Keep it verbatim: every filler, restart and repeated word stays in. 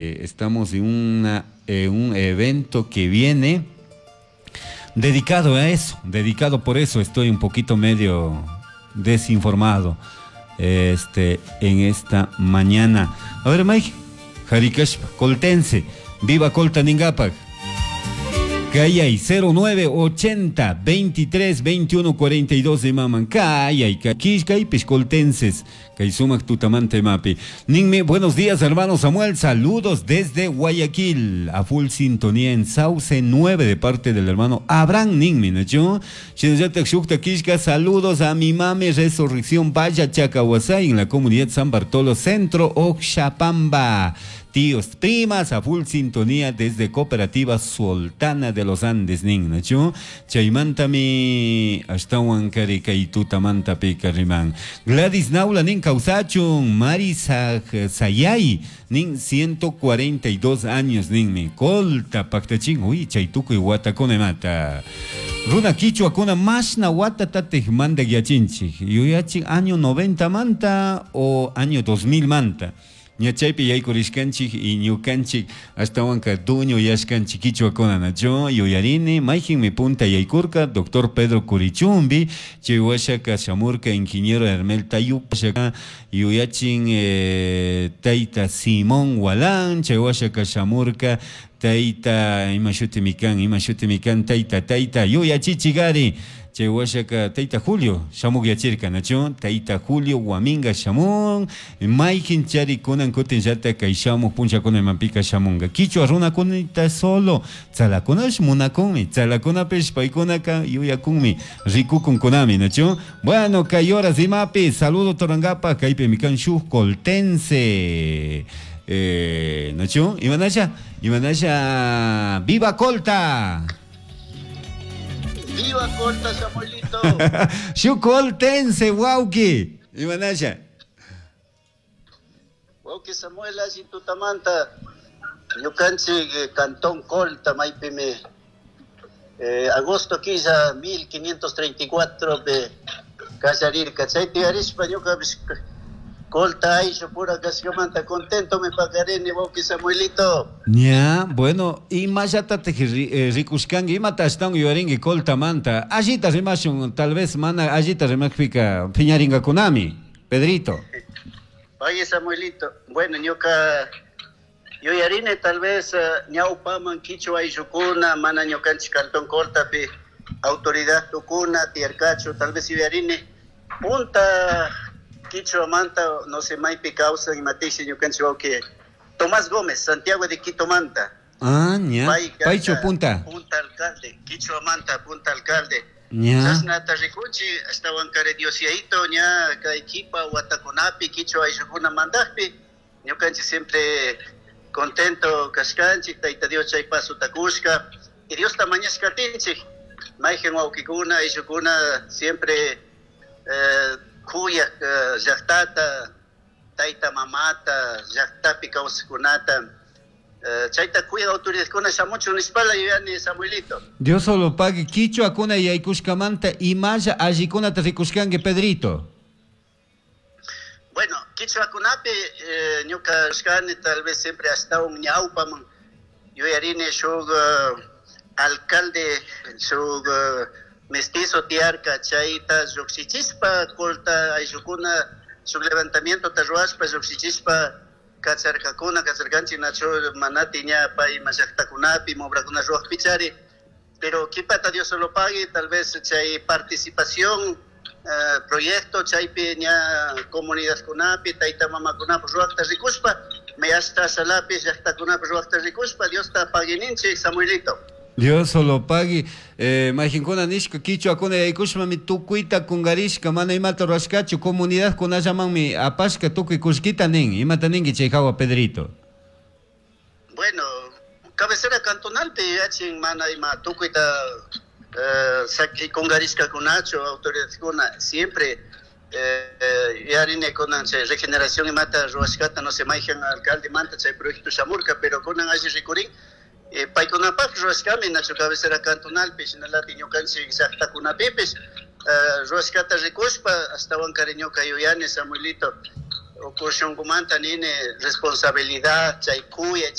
Estamos en, una, en un evento que viene dedicado a eso, dedicado por eso estoy un poquito medio desinformado este, en esta mañana. A ver, Mike, Harikashpa, Coltense, viva Colta ningapak. Kayay cero nueve ochenta veintitrés veintiuno cuarenta y dos de maman. Kayay, kishkaypish coltenses. Kay sumak tutamanta imapi. Ninmi, buenos días, hermano Samuel. Saludos desde Guayaquil. A full sintonía en Sauce nueve de parte del hermano Abraham ninmi, ¿no? Shukta kishka, saludos a mi mami Resurrección Vaya Chacahuasay en la comunidad San Bartolo Centro, Oxapamba. Tíos, primas, a full sintonía desde Cooperativa Sultana de los Andes, nin, ¿no? Chaymantami ashtawan kari kay tutamanta pika riman. Gladys Naula nin kawsachun, Mari Sayay nin ciento cuarenta y dos años ninmi. Colta paktachin, uy, chay tukuy watakuna mata. Runa kichwakuna mashna watatatik mandak yachinchik. Yuyachin año noventa manta o año dos mil manta. Ña chaypi yaykurishkanchik y ñukanchik ashtawanka dueño yashkanchik kichwakuna, nacho? Yuyarini mayjinmi punta yaykurka doctor Pedro Curichumbi, chay washaka shamurka ingeniero Hermel Tayup, yuyachin eh, tayta Simón Walán, chay washaka shamurka tayta ima shutimi kan ima shutimi kan tayta tayta yuyachichigari, chay washaka tayta Julio shamuk yachirka, nacho? Tayta Julio Waminga shamun, mayjin chari kunan kutin llata kay shamuk punchakuna imanpika shamunga. Kichwa runakunita solo tzalakunash munakunmi, tzalakunapish paykunaka yuyakunmi, rikukunkunami, nacho? Bueno, kay horas imapi saludo torangapa kaypi mikan shuk coltense eh, nacho? Imanasha, imanasha, viva Colta. ¡Viva Colta, Samuelito! Shuk coltense, wawki. Imanasha. Wawki Samuel, alli tutamanta. Ñukanchik eh, Cantón Colta, maypimi. Eh, agosto killa mil quinientos treinta y cuatro de kallarirka. Chaypi arishpa ñukapish Colta ayllu pura kashkamanta contento me paqarini, wawki Samuelito. Ña, bueno, imallatatik eh, rikushkanki, imata ashtawan yuyarinki Coltamanta. Allita rimashun, tal vez mana allita rimakpika piñarinkakunami, Pedrito. Oye, Samuelito, bueno, ñuka yuyarini tal vez uh, ñawpaman kichwa ayllukuna mana ñukanchik Cantón Coltapi autoridad tukuna tiyarkachu. Tal vez yuyarini punta kichwamanta, no sé maypi kawsan imatishi, ñukanchik wawki Tomás Gómez, Santiago de Quito manta. Ah, ña. Paychu punta. Punta alcalde, kichwamanta punta alcalde. Ña. Chashnata rikunchik ashtawan kari Dios Yayito ña kay kipa watakunapi kichwa ayllukuna mandakpi ñukanchik siempre contento kashkanchik. Tayta Dios chay pasota kushka y Diosta mañashkatinchik mayqin wawkikuna ayllukuna siempre eh, kuyak eh, llaqtata, tayta mamata, llaqtapi kawsaqkunata eh, chayta kuyaq autoridadkuna shamuchun nishpala yuyani, Samuelito. Dios solo pague kichwakuna yaykushkamanta imalla allikunata rikushkanki, Pedrito. Bueno, kichwakunapi eh, ñuka shkani tal vez siempre ashtawan ñawpaman yuyarini shuk uh, alcalde, shuk uh, mestizo tiyarka, chayta lluqshichispa Colta ayllukuna shuk levantamiento ta ruwashpa lluqshichispa kacharkakuna, kacharkanchik, nachu? Manati ña pay ima llaqtakunapi obrakuna ruwaqpi chari, pero kipata Dios lo pague, tal vez chay participación eh, proyecto chaypi ña comunidadkunapi tayta mamakunapi ruwaqta rikushpa me hasta salapi llaqtakunapi ruwaqta rikushpa Diosta paguininchik, Samuelito. Dios solo pague. Eh, mayqinkuna nishka kichwakuna yaykushpami tukuyta kungarishka, mana imata rurashkachu, comunidad kunallamanmi apashka tukuy kullkita nin. Imata ninki chay hawa, Pedrito? Bueno, cabecera cantonalpi yachin mana ima tukuyta eh, saki kungarishkakunachu autoridadkuna. Siempre eh, yarini kunan chay regeneración imata ruwashkata, no sé mayqin alcalde manta chay proyecto shamurka, pero kunan alli rikurin eh, paykunapaq ruwashkami, nachu? Cabecera cantonalpi shinalati ñukanchik llaqtakunapipish eh, ruwashkata rikushpa ashtawan kari ñuka yuyani, Samuelito. Uku shunkumanta nini responsabilidad chay kuyay.